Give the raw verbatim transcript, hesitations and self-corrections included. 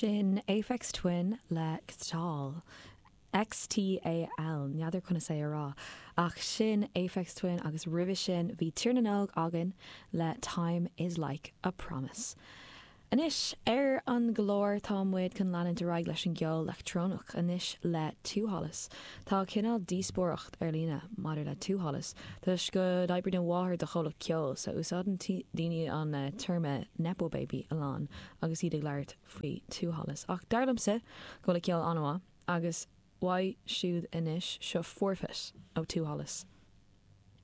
Sin Aphex Twin le Xtal. XTAL n'fheadar conas é a rá. Ach sin Aphex Twin agus roimhe sin bhí Tír na nÓg againn le Time is like a Promise. Anois ar an gclár tá muid chun leanúint ar aghaidh leis an gceol leictreonach anois le Two Hollis. Tá cineál díospóireacht ar líne maidir le Two Hollis, Tá go n-oibríonn a mháthair do chomhlacht ceoil so úsáideann daoine an uh, téarma Nepo Baby a lán agus iad ag labhairt faoi Two Hollis. Ach dar liomsa go bhfuil a ceol an-mhaith agus uaidh siúd anois seo Forfeit ó Two Hollis.